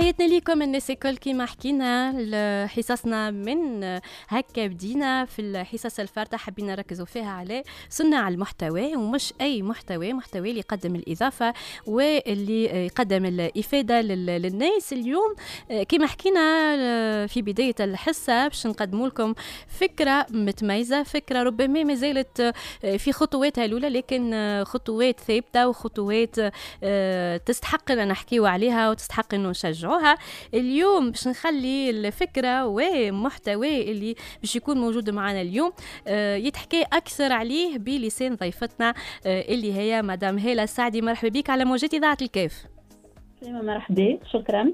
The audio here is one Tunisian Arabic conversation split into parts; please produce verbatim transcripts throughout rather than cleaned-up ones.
تحياتنا لكم الناس الكل. كيما حكينا حصصنا من هكا بدينا في الحصص الفارطة، حبينا نركزوا فيها على صناع المحتوى، ومش أي محتوى، محتوى اللي يقدم الإضافة واللي يقدم الإفادة للناس. اليوم كما حكينا في بداية الحصة باش نقدموا لكم فكرة متميزة، فكرة ربما ما زالت في خطواتها الأولى، لكن خطوات ثابتة وخطوات تستحق أن نحكيو عليها وتستحق أنه نشجعوها. اليوم باش نخلي الفكرة ومحتوى اللي باش يكون موجود معنا اليوم يتحكي أكثر عليه بلسان ضيفتنا اللي هي مدام هالة السعدي. مرحبا بك على موجات إذاعة الكاف. مرحبا، شكرا.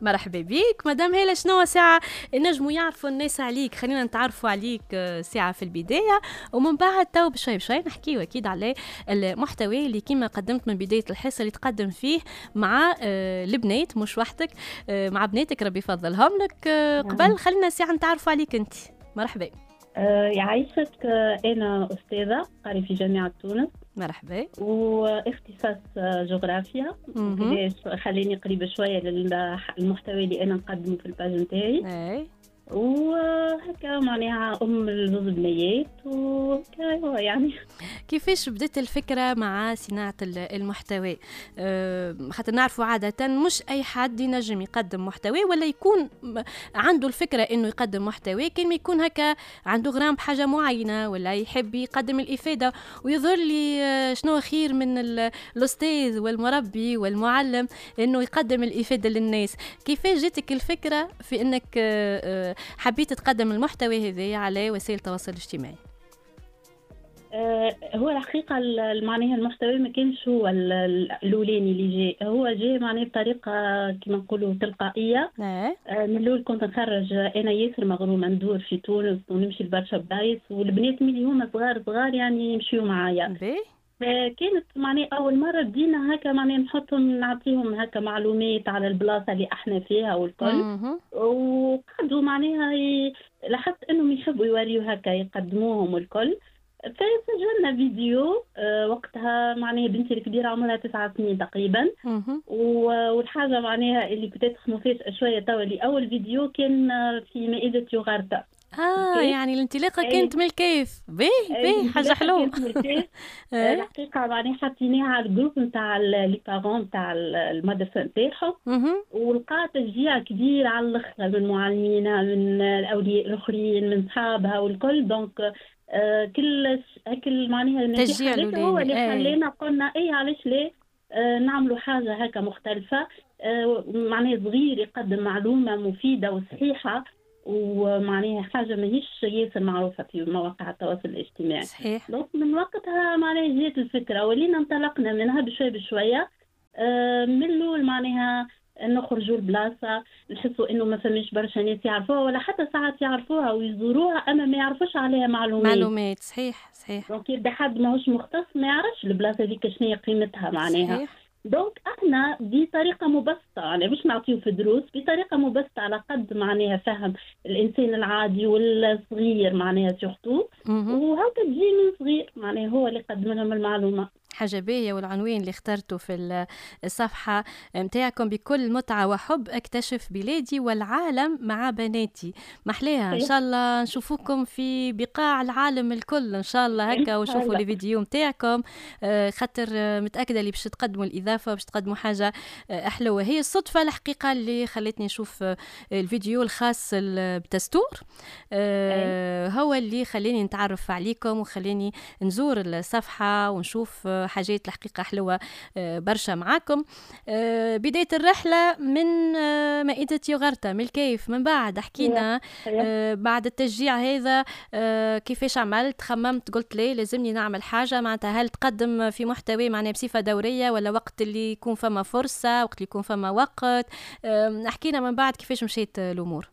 مرحبا بك مدام هالة. شنو ساعة نجموا يعرفوا الناس عليك؟ خلينا نتعرفوا عليك ساعة في البداية، ومن بعد تو بشوي بشوي نحكيو أكيد على المحتوى اللي كما قدمت من بداية الحصة اللي تقدم فيه مع البنات، مش وحدك، مع بناتك ربي يفضلهم لك. قبل خلينا ساعة نتعرفوا عليك أنت. مرحبا. أه يعيشك. أنا أستاذة قاري في جامعة تونس. مرحبا. واختصاص جغرافيا، خليني قريبة شوية للمحتوى اللي أنا نقدمه في ال page نتاعي. أي. وهكا معناها أم الزوز بنيات وكا يعني. كيفاش بدت الفكرة مع صناعة المحتوى؟ أه خاطر نعرفوا عادة مش أي حد ينجم يقدم محتوى ولا يكون عنده الفكرة إنه يقدم محتوى، كان يكون هكا عنده غرام بحاجة معينة ولا يحب يقدم الإفادة. ويظهر لي شنو خير من الأستاذ والمربي والمعلم إنه يقدم الإفادة للناس. كيفاش جاتك الفكرة في إنك أه حبيت تقدم المحتوى هذا على وسائل التواصل الاجتماعي؟ أه هو الحقيقة معناها المحتوى ما كانش هو الأولاني اللي جاء، هو جاء معناها بطريقة كما نقولوا تلقائية. أه من الأول كنت نخرج أنا ياسر مغرومة ندور في تونس ونمشي لبرشا بلايص، والبنات ملي هما صغار صغار يعني يمشيو معايا. فكانت معناها أول مرة بدينا هكا معناها نحطهم نعطيهم هكا معلومات على البلاصة اللي احنا فيها والكل، وقعدوا معناها ي... لاحظت انهم يحبوا يوريو هكا يقدموهم والكل. فسجلنا فيديو وقتها معناها بنتي الكبيرة عمرها تسعة سنين تقريبا، والحاجة معناها اللي كنت مفاجأة شوية توا اللي أول فيديو كان في مائدة يوغرطة. اه يعني الانطلاقة كانت من الكيف. باهي باهي، حاجة حلوة. الحقيقة معناها حطيناها على ال groupe نتاع les parents نتاع المدرسة نتاعهم، ولقى تشجيع كبير على الاخر من معلمينا، من الاولياء الاخرين، من صحابها والكل. donc آه كل كل معناها التشجيع هو اللي خلانا قلنا اي علاش لا آه نعملوا حاجة هكا مختلفة، آه معناها صغير يقدم معلومة مفيدة وصحيحه، ومعناها حاجة ماهيش ياسر معروفة في مواقع التواصل الاجتماعي. صحيح. donc من وقتها معناها جات الفكرة ولينا انطلقنا منها بشوية بشوية. آه من الأول معناها نخرجوا البلاصة نحسوا إنه ما فماش برشا ناس يعرفوها، ولا حتى ساعات يعرفوها ويزوروها أما ما يعرفوش عليها معلومات. معلومات صحيح صحيح. donc يبدا حد ماهوش مختص ما يعرفش البلاصة هذيك شنو هي قيمتها معناها. صحيح. donc احنا بطريقة مبسطة، يعني مش نعطيو في دروس، بطريقة مبسطة على قد معناها فهم الانسان العادي والصغير معناها surtout، وهكا تجي من صغير معناها هو اللي قدم لهم المعلومة. حاجة باهية. والعنوان اللي اخترته في الصفحة متاعكم بكل متعة وحب اكتشف بلادي والعالم مع بناتي، محلاها. إن شاء الله نشوفوكم في بقاع العالم الكل إن شاء الله هكا، وشوفوا les vidéos متاعكم، خاطر متأكدة اللي باش تقدموا الإضافة باش تقدموا حاجة حلوة. هي الصدفة الحقيقة اللي خلتني نشوف الفيديو الخاص بتستور، هو اللي خلاني نتعرف عليكم وخلاني نزور الصفحة ونشوف حاجات الحقيقة حلوة برشا معاكم. بداية الرحلة من مائدة يوغرطة من الكيف، من بعد حكينا بعد التشجيع هذا كيفاش عملت، خممت قلت لي لازمني نعمل حاجة، معناتها هل تقدم في محتوى معناها بصفة دورية ولا وقت اللي يكون فما فرصة، وقت اللي يكون فما وقت؟ حكينا من بعد كيفاش مشيت الأمور.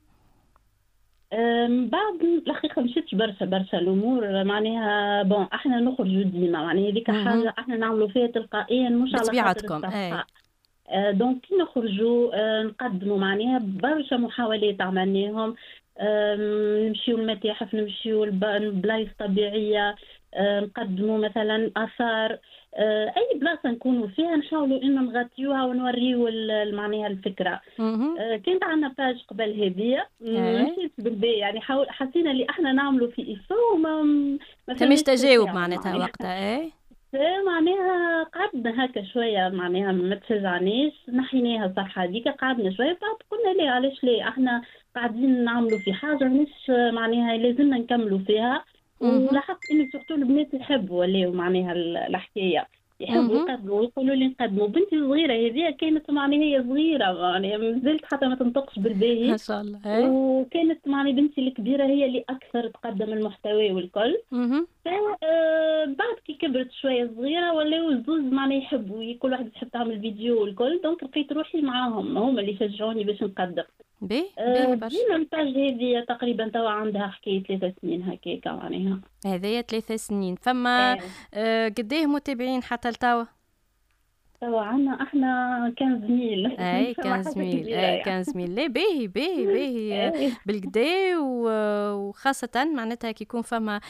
من بعد الحقيقة مشيتش برشا برشا الأمور معناها. bon احنا نخرجوا ديما معناها هذيك حاجة احنا نعملوا فيها تلقائيا مش على خاطر الصفحة. donc كي نخرجوا نقدموا معناها برشا محاولات عملناهم، نمشيو المتاحف، نمشيو البلايص طبيعية، آه، نقدموا مثلا اثار، آه، اي بلاصة نكونوا فيها نحاولوا انه نغطيوها ونوريو معناها الفكرة. آه، كانت عندنا page قبل هذيا مشيت بالباهي، يعني حاول حسينا اللي احنا نعملوا في effort وما ما فماش تجاوب معناتها وقتها. اي معناها قعدنا هكا شوية، معناها ما تشجعناش، نحيناها الصفحة هذيك، قعدنا شوية بعد قلنا ليه علاش ليه احنا قاعدين نعملوا في حاجة مش معناها لازمنا نكملوا فيها. ولاحظت انه surtout البنات يحبوا ولاو معناها الحكاية يحبوا يقدموا ويقولوا لي نقدموا. بنتي الصغيرة هذه كانت معناها هي صغيرة معناها مازالت حتى ما تنطقش بالباهي ما شاء الله، وكانت معناها بنتي الكبيرة هي اللي اكثر تقدم المحتوى والكل. بعد كي كبرت شوية صغيرة ولاو الزوز معناها يحبوا، كل واحد تحب تعمل فيديو والكل، donc لقيت روحي معاهم، هما اللي شجعوني باش نقدم. باهي باهي برشا. ال page هذه تقريبا توا عندها حكاية ثلاثة سنين هكاكا معناها. هذايا ثلاثة سنين. فما آه قداه متابعين حتى لتوا؟ توا عندنا احنا quinze mille. اي quinze mille، اي quinze mille. لا باهي باهي باهي بالكدا، وخاصة معناتها كي يكون فما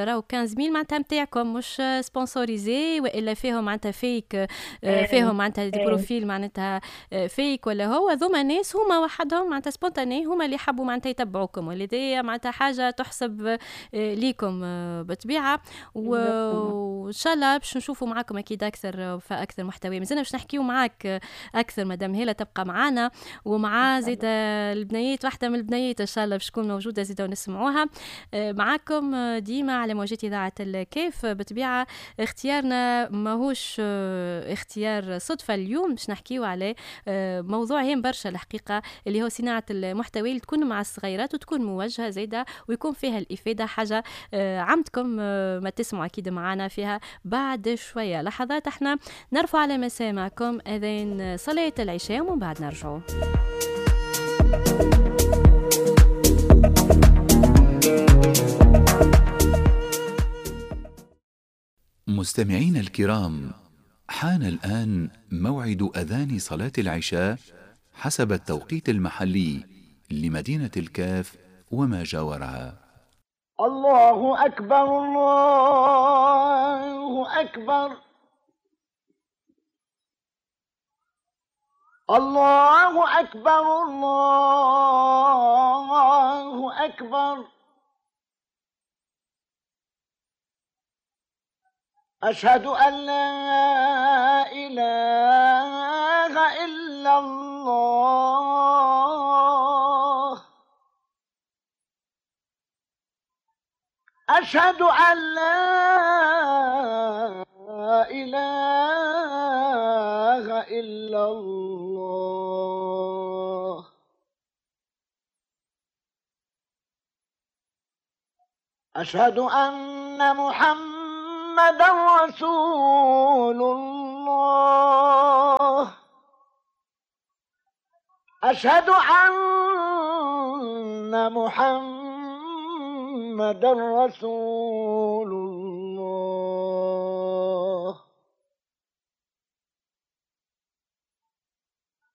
راهو quinze mille معناتها نتاعكم مش sponsorisés والا فيهم معناتها fake، فيهم معناتها des profils معناتها fake ولا هو ذوما ناس هما وحدهم معناتها spontanés هما اللي حبوا معناتها يتبعوكم، ولذا معناتها حاجة تحسب ليكم بالطبيعة. وان شاء الله باش نشوفوا معاكم اكيد اكثر فاكثر محتوى. مازلنا باش نحكيو معاك اكثر مدام هيلا، تبقى معانا ومع زيد البنيات، واحدة من البنيات ان شاء الله باش تكون موجودة زيد ونسمعوها معاكم ديما على موجات اذاعة الكيف. بطبيعة اختيارنا ماهوش اختيار صدفة، اليوم باش نحكيو على موضوع هام برشا الحقيقة اللي هو صناعة المحتوى اللي تكون مع الصغيرات وتكون موجهة زيده ويكون فيها الافادة، حاجة عمدكم ما تسمعوا اكيد معانا فيها بعد شوية لحظات. احنا نرفع على مسامعكم أذان صلاة العشاء ومن بعد نرجعوا. مستمعين الكرام، حان الآن موعد أذان صلاة العشاء حسب التوقيت المحلي لمدينة الكاف وما جاورها. الله أكبر، الله أكبر، الله أكبر، الله أكبر. أشهد أن لا إله إلا الله. أشهد أن لا إله إلا الله. أشهد أن محمدا رسول الله. أشهد أن محمدا رسول الله.